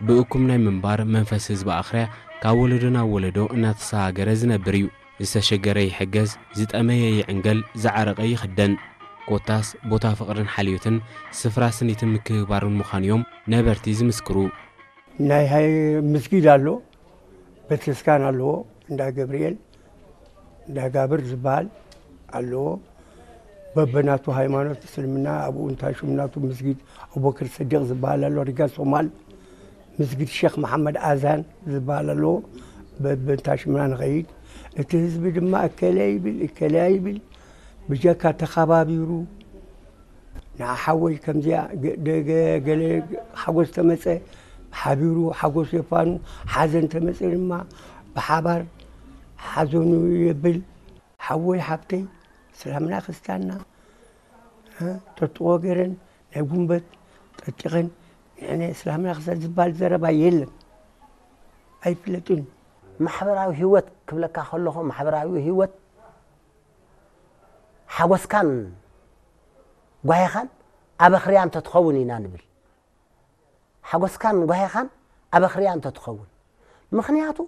ብእኩም ናይ ምንባር መንፈስ ህዝቢ ኣኽርያ ካብ ወለዶ ናብ ወለዶ እናተሰጋገረ ዝነብር እዩ። ዝተሸገረ ይሕገዝ፣ ዝጠመየ ይዕንገል፣ ዝዓረቐ ይኽደን። ኮታስ ቦታ ፍቕርን ሓልዮትን ስፍራ ስኒትን ምክብባርን ምዃኑ እዮም ነበርቲ ዝምስክሩ። ናይ ሃይ ምስጊድ ኣሎ፣ ቤተክርስቲያን ኣለዎ፣ እንዳ ገብርኤል እንዳ ጋብር ዝበሃል ኣለዎ። በበናቱ ሃይማኖት እስልምና ኣብኡ እንታይ ሽም ናቱ ምስጊድ ኣቡበክር ስዲቅ ዝበሃል ኣሎ፣ ሪጋ ሶማል ምስጊድ ሼክ መሓመድ ኣዛን ዝበሃል ኣለዎ። በበንታ ሽምና ንኸይድ። እቲ ህዝቢ ድማ እከለ ይብል እከለ ይብል ብጀካ ተኸባቢሩ ንዓ ሓወይ ከምዚኣ ገ- ደገ- ገለ ሓጎስ ተመፀ ሓቢሩ ሓጎስ የፋኑ፣ ሓዘን ተመፀ ድማ ብሓባር ሓዘኑ የብል። ሓወይ ሓብተይ እስላምና ክርስቲያንና እ፣ ተጥቆ ገይረን ናይ ጉንበት ጠጢቐን ንሕነ እስላምና ክርስቲያን ዝበሃል ዘረባ የለን፣ ኣይፍለጥን። ማሕበራዊ ህይወት ክብለካ ከለኹ ማሕበራዊ ህይወት ሓጎስካን ጓሄኻን ኣበኽርያ እንተትኸውን ኢና ንብል። ሓጎስካን ጓሄኻን ኣበኽርያ እንተትኸውን። ምኽንያቱ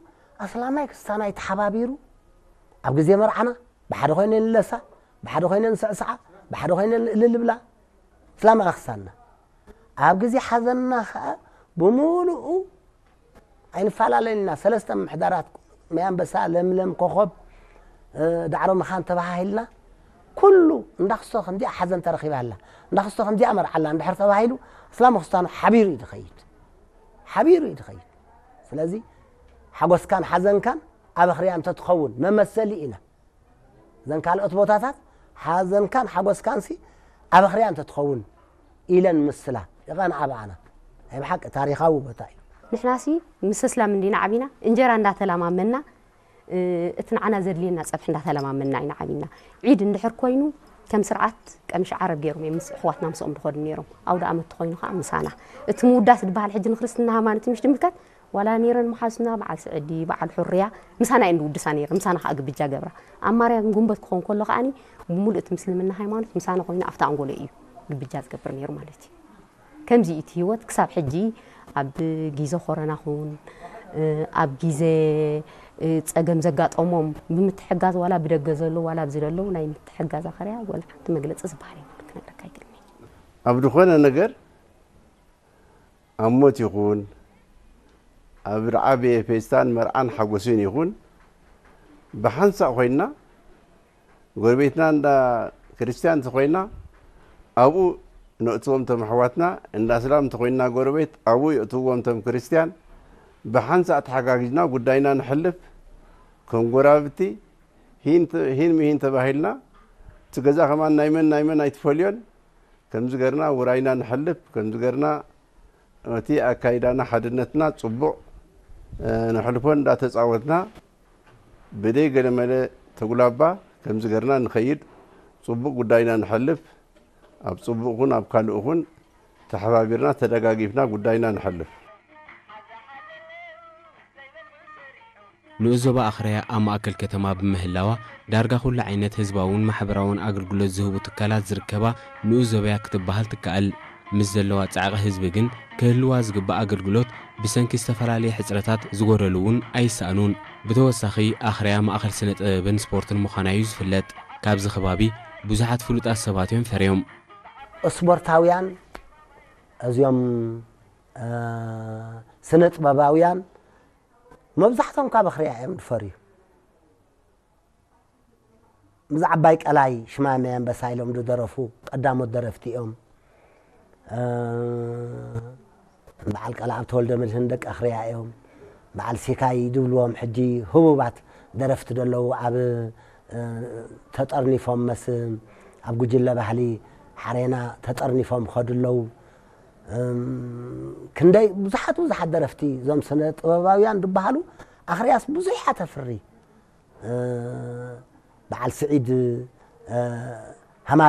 ኣስላማይ ክስታናይ ተሓባቢሩ ኣብ ግዜ መርዓና ብሓደ ኮይነ ንለሳ፣ ብሓደ ኮይነ ንስዕስዓ፣ ብሓደ ኮይነ እልል ንብላ። እስላማይ ክስታንና ኣብ ግዜ ሓዘንና ኸኣ ብምሉኡ ኣይንፈላለን ኢና። ሰለስተ ምምሕዳራት፣ ማይ ኣንበሳ፣ ለምለም፣ ኮኾብ፣ እ፣ ዳዕሮ መኻን ተባሃሂልና ኩሉ እንዳኽስቶ ከምዚኣ ሓዘን ተረኺባ ኣላ፣ እንዳኽስቶ ከምዚኣ መርዓ ኣላ እንድሕር ተባሂሉ እስላም ክስታኑ ሓቢሩ እዩ ዝኸይድ፣ ሓቢሩ እዩ ዝኸይድ። ስለዚ ሓጎስካን ሓዘንካን ኣበኽርያ እንተትኸውን መመሰሊ ኢና። እዘን ካልኦት ቦታታት ሓዘንካን ሓጎስካንሲ ኣበኽርያ እንተትኸውን ኢለን ምስላ ይቐንዓ ብኣና። ናይ ብሓቂ ታሪኻዊ ቦታ እዩ። ንሕናሲ ምስ ኣስላም እንዲና ዓቢና፣ እንጀራ እንዳተላማመና፣ እ፣ እቲ ንዓና ዘድልየና ጸብሒ እንዳተላማመና ኢና ዓቢና። ዒድ እንድሕር ኮይኑ ከም ስርዓት ቀምሽ ዓረብ ገይሮም እዮም ምስ ኣሕዋትና ምስኦም ዝኸዱ ነይሮም። ኣውደ ኣመት ተኾይኑ ከዓ ምሳና። እቲ ምውዳስ ዝበሃል ሕጂ ንክርስትና ሃይማኖት ምሽ ድምልከት ዋላ ነይረን መሓዙትና በዓል ስዕዲ በዓል ሑርያ ምሳና እየን ዝውድሳ ነይረን፣ ምሳና ከዓ ግብጃ ገብራ። ኣብ ማርያ ግን ጉንበት ክኾን ከሎ ከዓኒ ብምሉእ እቲ ምስልምና ሃይማኖት ምሳና ኮይኑ ኣብቲ ኣንጎሎ እዩ ግብጃ ዝገብር ነይሩ ማለት እዩ። ከምዚ እቲ ህይወት ክሳብ ሕጂ ኣብ ግዜ ኮረና ኹን ኣብ ግዜ ጸገም ዘጋጠሞም ብምትሕጋዝ ዋላ ብደገ ዘለዉ ዋላ ኣብዚ ዘለዉ ናይ ምትሕጋዝ ኣኸርያ ወላ ሓንቲ መግለጺ ዝበሃል የብሉ ክነግረካ ኣይክእልን እየ። ኣብ ዝኾነ ነገር ኣብ ሞት ይኹን ኣብ ዝዓበየ ፌስታን መርዓን ሓጎስን ይኹን ብሓንሳእ ኮይንና ጎረቤትና እንዳ ክርስትያን እንተኾይና ኣብኡ ነእትዎም እቶም ኣሕዋትና፣ እንዳ እስላም እንተኾይንና ጎረቤት ኣብኡ የእትውዎም እቶም ክርስትያን። ብሓንሳእ ተሓጋጊዝና ጉዳይና ንሕልፍ። ከም ጎረባብቲ ሂን ተ- ሂን ምሂን ተባሂልና እቲ ገዛ ከማን ናይ መን ናይ መን ኣይትፈልዮን። ከምዚ ገርና ውራይና ንሕልፍ። ከምዚ ገርና እቲ ኣካይዳና ሓድነትና ጽቡቕ ነሕልፎ እንዳተጻወትና ብደይ ገለመለ ተጉላባ ከምዚ ገርና ንኸይድ ጽቡቕ ጉዳይና ንሐልፍ ኣብ ጽቡቕ ኹን ኣብ ካልእ ኹን ተሐባቢርና ተደጋጊፍና ጉዳይና ንሐልፍ። ንኡስ ዞባ ኣኽርያ ኣብ ማእከል ከተማ ብምህላዋ ዳርጋ ኩሉ ዓይነት ህዝባውን ማሕበራውን ኣገልግሎት ዝህቡ ትካላት ዝርከባ ንኡስ ዞባያ ክትበሃል ትከኣል። ምስ ዘለዋ ጻዕቒ ህዝቢ ግን ክህልዋ ዝግባእ ኣገልግሎት ብሰንኪ ዝተፈላለየ ሕጽረታት ዝጎደሉ እውን ኣይሰኣኑን። ብተወሳኺ ኣኽርያ ማእኸል ስነ ጥበብን ስፖርትን ምዃና እዩ ዝፍለጥ። ካብዚ ከባቢ ብዙሓት ፍሉጣት ሰባት እዮም ፈርዮም። ስፖርታውያን እዚኦም ስነ ጥበባውያን መብዛሕቶም ካብ ኣኽርያ እዮም ዝፈርዩ። ምስ ዓባይ ቀላይ ሽማመ ኣንበሳ ኢሎም ዝደረፉ ቀዳሞት ደረፍቲ እዮም። በዓል ቀልኣብ ተወልደ መድህን ደቂ ኣኽርያ እዮም። በዓል ሲካይ ዝብልዎም ሕጂ ህቡባት ደረፍቲ ዘለዉ ኣብ ተጠርኒፎም መስ ኣብ ጉጅለ ባህሊ ሓሬና ተጠርኒፎም ከዱ ኣለዉ። ክንደይ ብዙሓት ብዙሓት ደረፍቲ እዞም ስነ ጥበባውያን ዝበሃሉ ኣኽርያስ ብዙሕ እያ ተፍሪ። በዓል ስዒድ ሃማድ